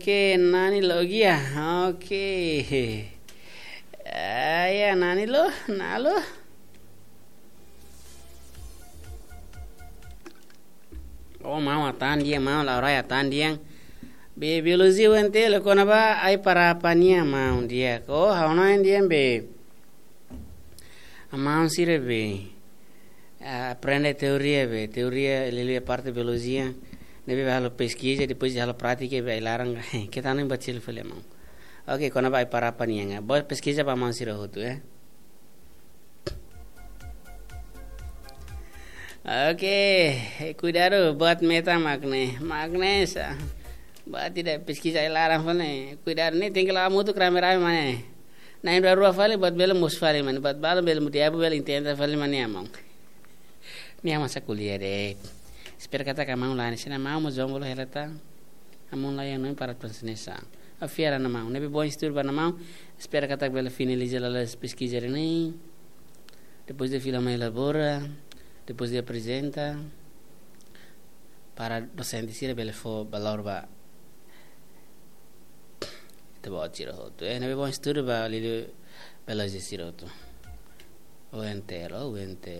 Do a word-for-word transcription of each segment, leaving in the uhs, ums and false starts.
Oke, Nani logia. Oke. Ah, ya, Nani lo, na lo. Oh, maun atan dia, maun Laurai atan dia. Be biologia U N T L kona-ba ai-parapa nian maun dia. Oh, ha'u-nia maun dia be. Maun sira be. Ah, aprende teoria be, teoria liuliu parte biologia. Ne'ebé halo peskiza, depois halo prátika be ai-laran. Keta nem bacil fale maun. Oke, kona-ba ai-parapa nian. Boa peskiza ba maun sira hotu, eh. Oke, kuidadu buat metan mak ne'e. Mak ne'e sa. Buat ida peskiza ai-laran fali ne'e. Kuidadu ne'e tenke la'o hamutuk rame-rame mak ne'e. Na'in rua-rua fali buat bele mosu fali mak ne'e. Buat balu bele mudiabu bele intenta fali mak ne'e maun. Ne'e masa kuliah de'it. Espera katak maun la'o hanesan ne'e maun mós jomblo hela tan. Maun la'o iha ne'e para transnesa. Ha'u fiar ona maun. Ne'ebé bom estudu ba maun. Espera katak bele finaliza lalais peskiza ne'e. Depois de fila mai elabora, depois de aprezenta, para dosente sira bele fó valór ba ita-boot sira hotu. Eh, ne'ebé bom estudu ba liuliu biologia sira hotu. U N T L, oh, U N T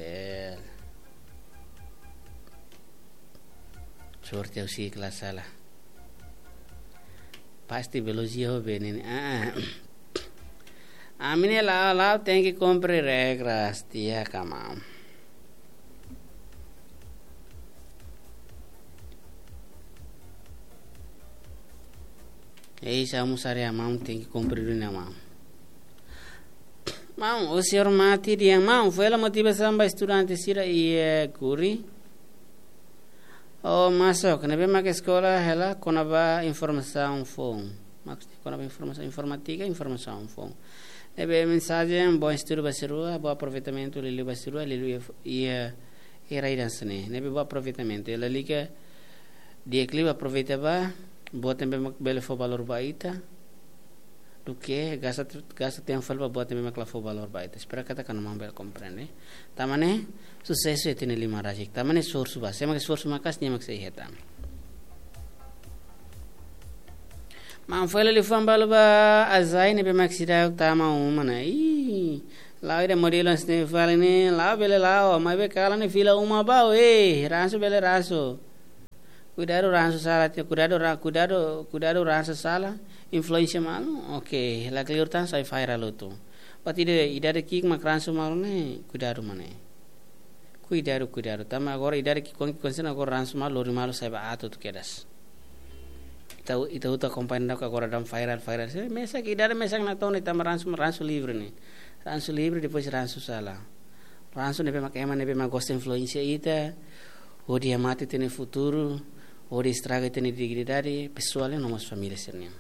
L. Sorte ha'u si'ik la sala. Pasti biologia ho benen. Ah. Ami ne'e la'o, la'o tenke kumpre regras tiha ka maun. Ei, sa mu sare maun tenke kumpre duni maun. Maun, o senhor Mati dia maun, foin hela motivasaun ba estudante sira iha Kuri. Oh, masuk, ne'ebé mak eskola hela kona-ba informasaun foun. Mak kona-ba informasaun informátika, informasaun foun. Ne'ebé mensajen, bom estudu ba sira rua, bom aproveitamentu liuliu ba sira rua, liuliu iha, iha, iha rai dan sene. Ne'ebé bom aproveitamentu. Lalika di'ak liu aproveita ba, buat ne'ebé mak bele fó valór ba ita. Duké gasta, gasta tempu fali ba buat ne'ebé mak la fó valór ba ita. Espera katak maun bele komprende. Tanba ne'e, susesu iha ita-nia liman rasik. Tanba ne'e esforsu ba. Sé mak esforsu maka'as nia mak sei hetan. Maun foin hela liafuan balu ba Azai ne'ebé mak seidauk tama uma ona. Ih, la'o ida modelu hanesan ne'e fali ne'e, la'o bele la'o, maibé kalan ne'e fila uma ba, eh, ransu bele ransu. Kuidadu ransu sala, kuidadu ra-, kuidadu, kuidadu ransu sala, influénsia malu. Oke, lakleur tan sai viral hotu. Buat ida, idade ki'ik mak ransu malu ne'e, kuidadu mak ne'e. Kuidadu, kuidadu. Tanba agora idade ki'ik-oan ki'ik-oan sira agora ransu malu, lori malu sai ba aat hotu kedas. Ita, ita hotu akompaña daudauk agora daudaun viral, viral. Se mesak idade mesak ona to'o ne'e tanba ransu, ransu livre ne'e. Ransu livre, depois ransu sala. Ransu ne'ebé mak ema ne'ebé mak gosta influénsia ita, hodi hamate ita-nia futuru, hodi estraga ita-nia dignidade pesoál no mós família sira-nian.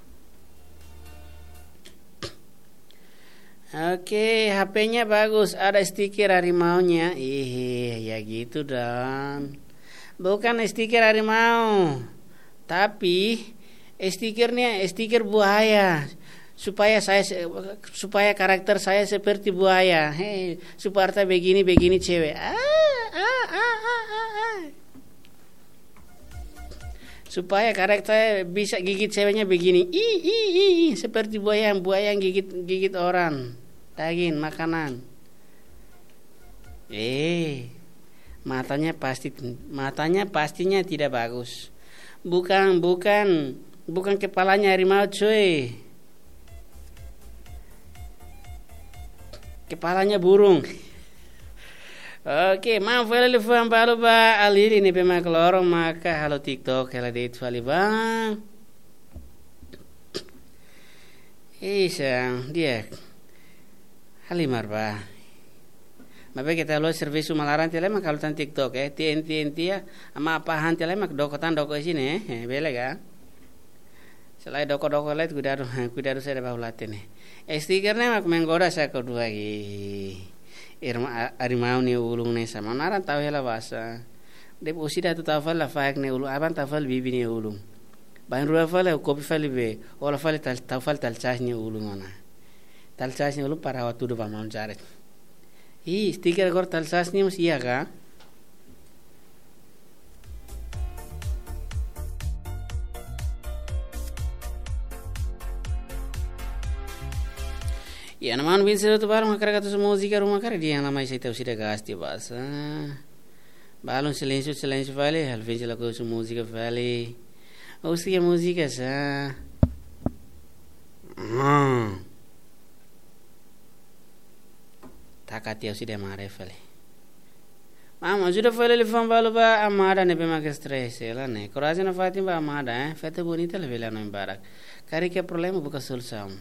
Oke, H P-nya bagus, ada stiker harimaunya. Ih, ya gitu dong. Bukan stiker harimau, tapi stikernya stiker buaya. Supaya saya se-, supaya karakter saya seperti buaya. Hei, supaya begini, begini cewek. Ah, ah, ah, ah, ah, ah. Supaya karakter bisa gigit ceweknya begini. Ih, ih, ih, ih, seperti buaya, buaya yang gigit, gigit orang. Daging, makanan. Eh, matanya pasti, matanya pastinya tidak bagus. Bukan, bukan, bukan kepalanya harimau, cuy. Kepalanya burung. Oke, maun foin hela liafuan balu ba Alili ne'ebé mak loron maka halo TikTok hela de'it fali ba. Isa, di'ak. Halimar ba. Maibé keta halo servisu malaran tiha lai mak halo tan TikTok, eh. Tien, tien, tia. Ama apa han tiha lai mak doko tan doko iha ne'e, eh. Eh, bele ka? Selae doko-doko lai kuidadu, kuidadu saida ba hula tene. Stiker ne'e mak menggoda sa ko dua gi. Irma a-, harimau nia ulun ne'e sama. Naran tau hela basa. Depois ida atu tau fali lafaek nia ulun. Aban tau fali bibi nia ulun. Bainrua fali, kopi fali be. Ola fali tal-, tau fali talsas nia ulun ona. Talsas nia ulun para ha'u hatudu ba maun Jared. Ih, stiker agora talsas nia mós iha ka? Ya, na manu bin sira tu balu hakarak atu husu múzika ruma karik dehan la mai sei tau sira gasti basa. Balun silénsiu, silénsiu fali, Alvin sila husu múzika fali. Husu múzika sá. Hmm. Taka tiau sira mare fali. Maun, ajuda fali liafuan balu ba amada ne'ebé mak stress hela ne'e. Korajen nafatin ba amada, eh. Festa bonita labele hanoin barak. Karik iha problema buka solusaun.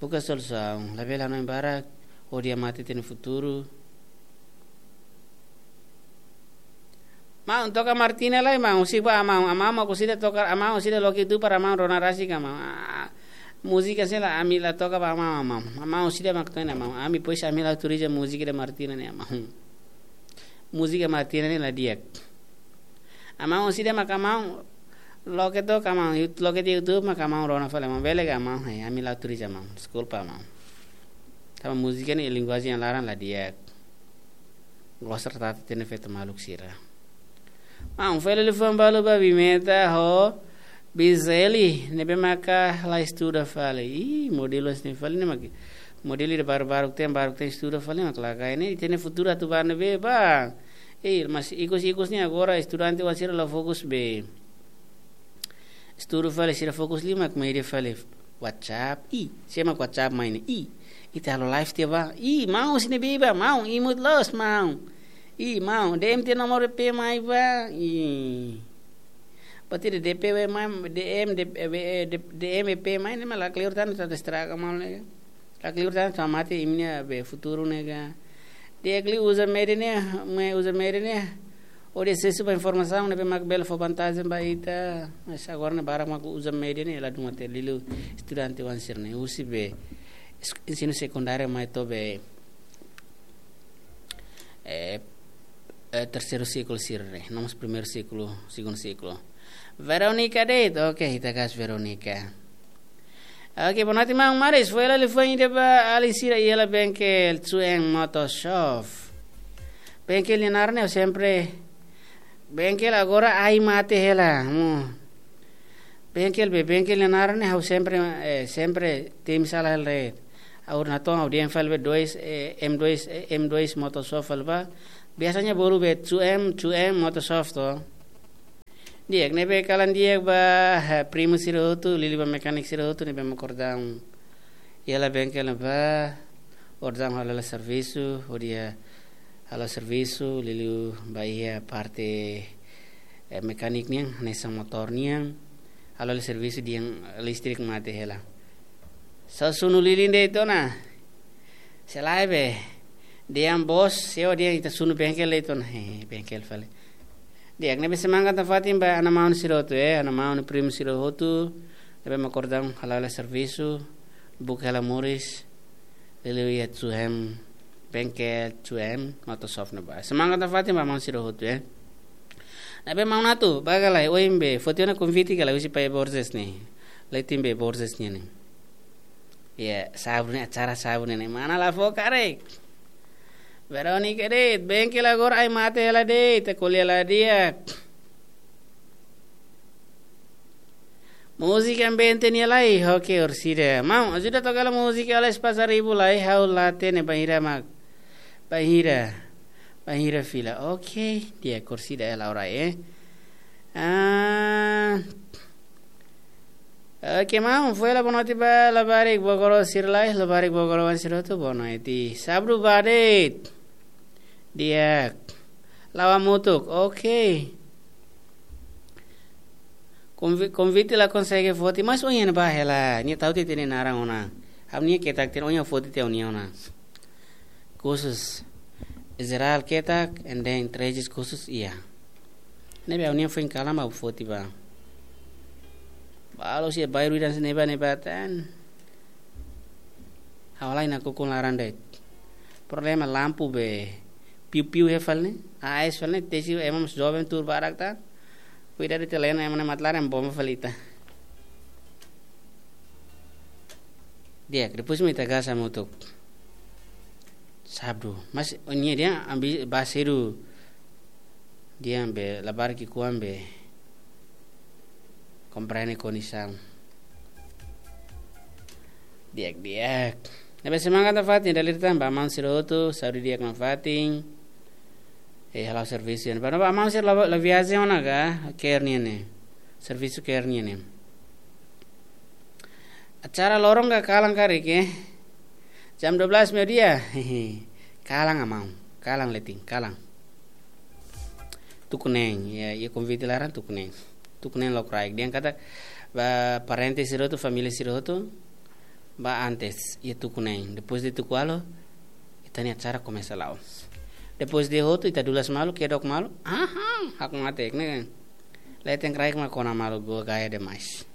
Buka solusaun. Labele hanoin barak. Odia mate ita-nia futuru. Maun, toka Martina lai, maun. Husi ba maun. Maun, maun, husi ida toka, maun, husi ida loke tu para maun rona rasik ka maun. Ah, múzika sira ami la toka ba maun, maun. Maun, husi ida mak to'o ona maun. Ami pois ami la autoriza múzika de Martina ne'e, maun. Múzika Martina ne'e la di'ak. Maun, husi ida mak maun loke toka maun. Yut-, loke di YouTube mak maun rona fali maun. Bele ka maun, hai, ami la autoriza maun. Deskulpa maun. Tanba múzika ne'e linguajen laran la di'ak. Gosta tratado tene feto maluk sira. Maun, fali liafuan balu ba Bimeta ho Bizeli, ne'ebé maka la estuda fali. Ih, modelu hanesan ne'e fali ne'e mak. Modelu ida baru-baru tem, baru tem estuda fali mak la kaer ne'e. Ita-nia futuru atu ba ne'ebé ba. Eh, mas ikus-ikus ne'e agora estudante oan sira la fokus be estudu fali, sira fokus liu mak média fali. WhatsApp, ih, sé mak WhatsApp mai ne'e, ih, ita halo live tiha ba, ih, maun husi ne'ebé ba, maun, imut loos, maun. Ih, maun, D M tiha nomor P mai ba, ih. Berarti de D P mai, D M, de, eh, de, D M P mai, ne'e mak lakleur tan, tan estraga maun ne'e. Lakleur tan, tan mate imi-nia be futuru ne'e ka. Di'ak liu uza média ne'e, mai uza média ne'e. Hodi asesu ba informasaun ne'ebé mak bele fó vantajen ba ita. Mas agora ne'e barak mak uza média ne'e, ladún mate liuliu estudante oan sira ne'e. Husi be es-, ensinu sekundáriu mai to'o be, eh, eh, terseiru siklu sira ne'e. No mós primeiru siklu, segundu siklu. Veronica de'it, oke, ita kas Veronica. Oke, boa noite, maun Maris. Fó hela liafuan ida ba alin sira iha hela bengkel Tsuen Motor Shop. Bengkel nia naran ne'e sempre, bengkel agora ai mate hela. Hmm. Bengkel be, bengkel nia naran ne'e ha'u sempre, eh, sempre temi sala hela de'it. Ha'u natoon ha'u dehan fali be dois, eh, M dois, eh, M dois Motor Shop fali ba. Biasanya bolu be Tsuen, Tsuen Motor Shop to. Di'ak, ne'ebé kalan di'ak ba, eh, primu sira hotu, liuliu ba mekanik sira hotu, ne'ebé mak kordang. Iha hela bengkel ne'ebá, kordang halo hela servisu, hodi halo servisu, liuliu ba iha parte, eh, mekanik nian, hanesan motór nian, halo hela servisu dehan listrik mate hela. Só sunu lilin de'it ona. Selae be. Dehan bos, seo dehan ita sunu bengkel de'it ona. He, bengkel fali. Di'ak, ne'ebé semangat nafatin ba ana maun sira hotu, eh, ana maun primu sira hotu. Ne'ebé mak kordang halo hela servisu, buka hela moris. Liuliu iha Tsuen, bengkel Tsuen Motor Shop ne'ebá. Semangat nafatin ba maun sira hotu, eh. Ne'ebé maun atu, ba ka lae, ohin be, foti ona konvite ka lae husi Pai Borges ne'e. Leten be Borges nian ne'e. Ya, sábadu ne'e, acara sábadu ne'e, mana la fó karik. Veronica de'it, bengkel agora ai mate hela de'it, ita ko'alia la di'ak. Múzika ambiente nia lai, oke, orsida. Maun, ajuda toka hela múzika Alas Pasaribu lai, ha'u la hatene bainhira mak. Bainhira. Bainhira fila. Oke, di'ak orsida hela orai, eh. Ah. Oke, maun, fó hela boa noite ba labarik Bogoro sira lai, labarik Bogoro oan sira hotu boa noite. Sábadu ba de'it. Di'ak. La'o hamutuk. Oke. Konvi-, konvite la konsege foti, mas ohin ba hela. Nia tau tiha ita-nia naran ona. Ha'u-nia ketak tiha ona, ohin foti tiha ona. Kursus jerál ketak, and then três kursus iha. Ne'ebé ha'u-nia foin kalan ba foti ba. Balu sira bairru dan ne'ebá ne'ebá tan. Ha'u-nia laran nakukun laran de'it. Problema lampu be. Piu-piu iha fali ne'e. Ais fali ne'e, tesi ema mós joven tuur barak tan. Kuidadu ita laran ema ne'e mate laran bomba fali ita. Di'ak, depois mak ita gasta hamutuk. Sábadu. Mas, ohin dehan ami ba sedu. Dehan be, labarik ki'ikoan be. Komprende kondisaun. Di'ak, di'ak. Ne'ebé semangat nafatin, dala ida tan ba maun sira hotu, saúde di'ak nafatin. Eh, halo servisu nian. Ba, ba maun sira la, la viajen ona ka, care nian ne'e. Servisu care nian ne'e. Acara loron ka kalan karik, eh. Jam dua belas meiudia. Kalan, maun. Kalan, letin, kalan. Tuku neen, iha, iha konvite laran tuku neen. Tuku neen lokraik. Dehan katak ba parente sira hotu, família sira hotu, ba antes, iha tuku neen. Depois de tuku ualu, ita-nia acara komesa la'o. Depois de hotu, ita dulas malu, kedok malu. Aha, hakmatek ne'e. Leten kraik mak kona malu, gua gaya demais.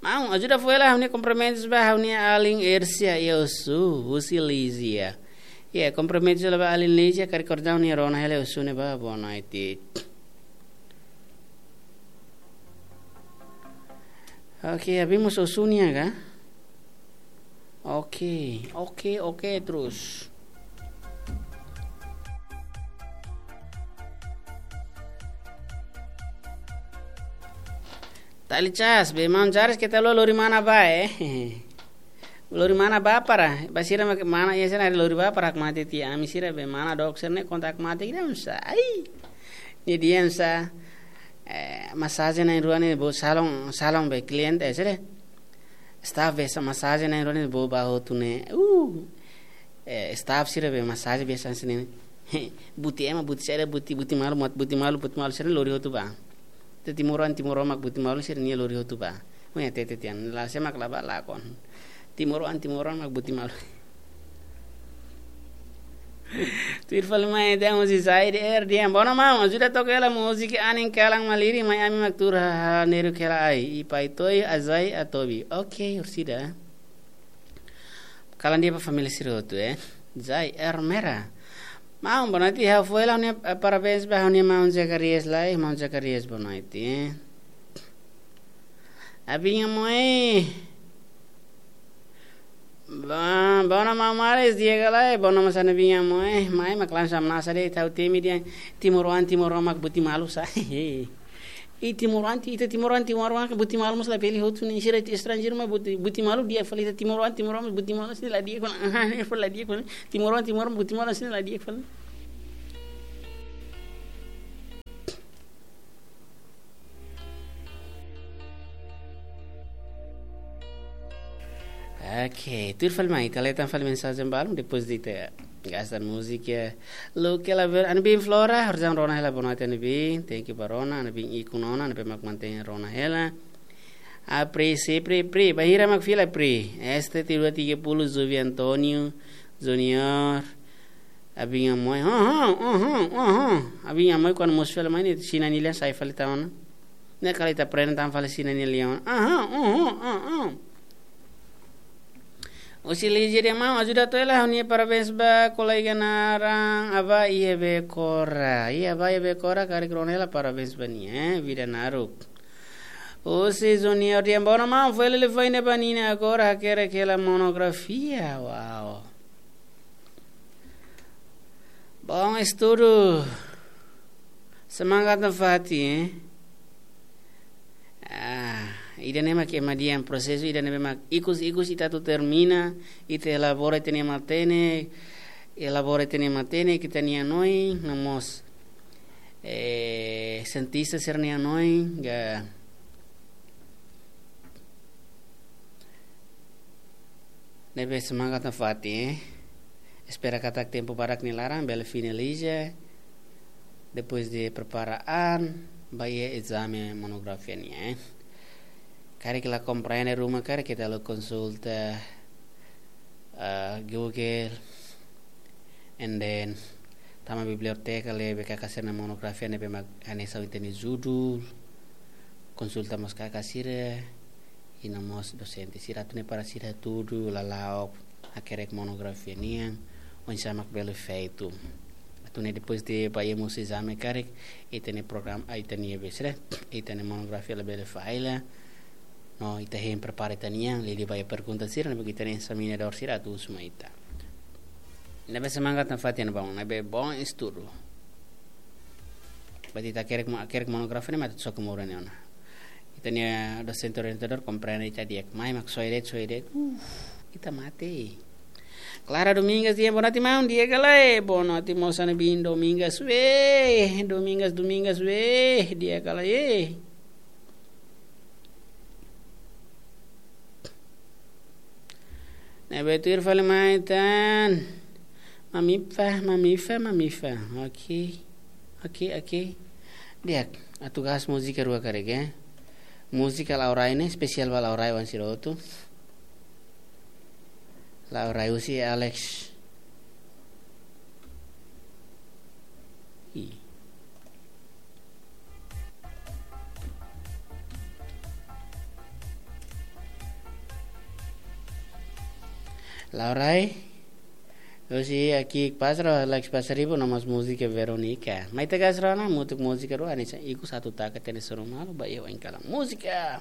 Maun, ajuda fó hela ha'u-nia kumprimentus ba ha'u-nia alin Ersia iha Ossu, husi Lizia. Ya, kumprimentus hela ba alin Lizia, karik orsida nia rona hela Ossu ne'ebá, boa noite. Oke, abrimos Ossu nian ka? Oke, oke, oke, terus. Tali cas, be maun Jares keta lori mana ba, eh. Lori mana ba para, ba sira mak mana iha sira lori ba para hakmatek tiha, ami sira be mana dok sira ne'e konta hakmatek ida sa. Ai. Nia dehan sa, eh, masajen na'in rua ne'e bolu salon, salon be kliente, eh, sira. Staff be sa masajen na'in rua ne'e bolu ba hotu ne'e. Uh. Eh, staff sira be masajen be sa sini. Buti ema, buti sira, buti, buti malu, mat buti malu, buti malu sira lori hotu ba. Te timoroan, timoroan mak buti malu sira-nia lori hotu ba. Mo ya tete tian, la sé mak la ba lakon. Timoroan, timoroan mak buti malu. Tuir fali mai, ita husi Zaire R D M. Boa noite, maun. Ajuda toka hela múzika anin kalan malirin, mai ami mak tuur hahán ne'e hela ai. I Pai Toy, Azai, Atobi. Oke, orsida. Kalan di'ak ba família sira hotu, eh. Zai Ermera. Maun, boa noite, ha'u fó hela ha'u-nia, eh, parabéns ba ha'u-nia maun Zacarias lai, maun Zacarias, boa noite, eh. Abinha moi. Ba, boa noite, maun Maris, di'ak ka lae, boa noite, maun Sani, abinha moi. Mai, mak lansa manasa de, tau temi dia, timoroan, timoroan mak buti malu sa. I timoroan, ita timoroan, timoroan mak buti malu mós labele hotu ne'e, sira estranjeiru mak buti, buti malu di'ak fali, ita timoroan, timoroan mak buti malu sira la di'ak fali, la di'ak fali. Timoroan, timoroan buti malu sira la di'ak fali. Oke, tuir fali mai, ita leten fali mensajen balun, depois de ita gasta múzika. Lo que la ver, Anabin Flora, orsida rona hela boa noite Anabin, thank you ba rona, Anabin ikun ona, Anabin mak mantein rona hela. A Pri, si Pri, Pri, bainhira mak fila Pri. Este tiru tiga puluh, Zuvi Antonio, Junior, abinha moi, ha, ha, ha, ha, ha. Abinha moi kuandu mós fila mai ne'e, Xina nia lian sai fali tan ona. Ne'e kala ita aprende tan fali Xina nia lian ona. Aha, aha, aha. Husi Lizia dehan maun, ajuda to'o hela ha'u-nia parabéns ba kolega naran Aba Iebe Kora. Iha Aba Iebe Kora, karik rona hela parabéns ba nia, eh, vida naruk. Husi Junior dehan boa noite maun, fó hela telefone ba Nina agora, hakerek hela monografia. Wow. Bom estudu. Semangat nafatin, eh. Ah, ida-ne'e mak ema dehan prosesu ida-ne'e mak ikus-ikus ita atu termina, ita elabora ita-nia matenek, elabora ita-nia matenek, ita-nia hanoin, no mós, eh, sientista sira-nia hanoin, ka ne'ebé semangat nafatin, eh. Espera katak tempu badak nia laran, bele finaliza. Depois de prepara an, ba iha ezame monografia nian, eh. Karik la komprende ruma, karik ita la konsulta, ah, Google, and then tama biblioteka, lee B K K sira-nia monografia ne'ebé mak hanesan ita-nia judul, konsulta mós kaka sira, i no mós dosente sira atu nune'e para sira hatudu lala'ok, hakerek monografia nian, oinsá mak bele feitu. Atu nune'e depois de ba iha mós ezame karik, ita-nia programa, ah, ita-nia besre, ita-nia monografia labele falla, no ita hein prepara ita-nian, liuliu ba iha pergunta sira, ne'ebé ita-nia ezaminadór sira atu husu mai ita. Ne'ebé semangat nafatin, bom, ne'ebé bom estudu. Berarti ita hakerek mo-, hakerek monografia ne'e mak atu soke moura ne'e ona. Ita-nia dosente orientadór komprende ita di'ak. Mai mak soe de'it, soe de'it. Uf, ita mate. Clara Domingas, di'ak, boa noite, maun. Di'ak ka lae? Boa noite, moça, ne'ebé Domingas, weh. Domingas, Domingas, weh. Di'ak ka lae? Ne'ebé tuir fali mai tan. Mamifa, mamifa, mamifa. Oke. Oke, oke. Di'ak, atu gás múzika rua karik, eh. Múzika Laurai ne'e, espesiál ba Laurai oan sira hotu. Laurai husi Alex. I. Laurai. Husi Aki Pasro, Alex Pasaribu, no mós múzika Veronica. Mai ita gás rona, mutuk múzika rua, hanesan ikus atu taka tene soru malu, ba iha oin kalan múzika.